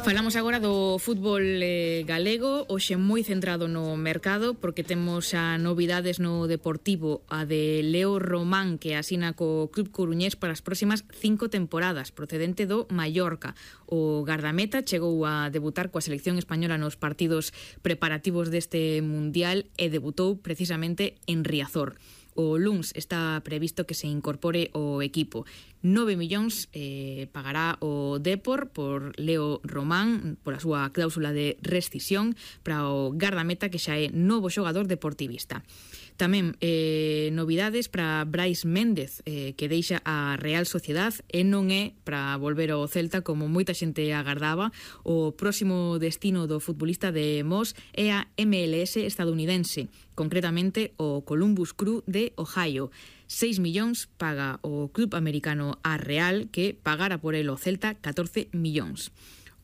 Falamos agora do fútbol galego, hoxe moi centrado no mercado, porque temos a novidades no Deportivo, a de Leo Román, que asina co Club Coruñés para as próximas 5 temporadas, procedente do Mallorca. O gardameta chegou a debutar coa selección española nos partidos preparativos deste Mundial e debutou precisamente en Riazor. O luns está previsto que se incorpore o equipo. 9 millóns pagará o Depor por Leo Román, por a súa cláusula de rescisión para o gardameta, que xa é novo xogador deportivista. Tamén novidades para Brais Méndez, que deixa a Real Sociedad e non é para volver ao Celta como moita xente agardaba. O próximo destino do futbolista de Moss é a MLS estadounidense, concretamente o Columbus Crew de Ohio. 6 millóns paga o club americano a Real, que pagara por el o Celta 14 millóns.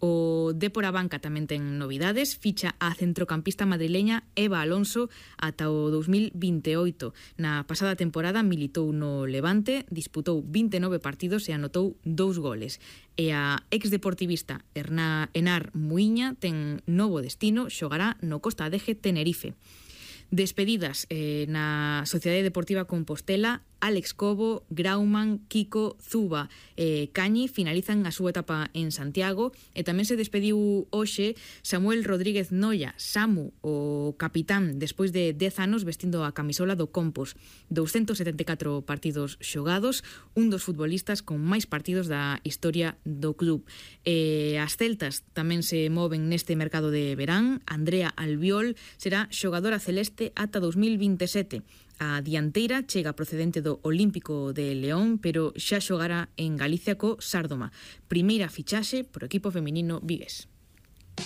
O Dépor a Banca tamén ten novidades, ficha a centrocampista madrileña Eva Alonso ata o 2028. Na pasada temporada militou no Levante, disputou 29 partidos e anotou 2 goles. E a exdeportivista Enar Muiña ten novo destino, xogará no Costa Adeje Tenerife. Despedidas na Sociedade Deportiva Compostela, Alex Cobo, Grauman, Kiko, Zuba e Cañi finalizan a súa etapa en Santiago, e tamén se despediu hoxe Samuel Rodríguez Noia, Samu, o capitán, despois de 10 anos vestindo a camisola do Compos. 274 partidos xogados, un dos futbolistas con máis partidos da historia do club. As celtas tamén se moven neste mercado de verán. Andrea Albiol será xogadora celeste ata 2027. A dianteira chega procedente do Olímpico de León, pero xa xogará en Galicia co Sárdoma. Primeira fichaxe pro equipo feminino vigués.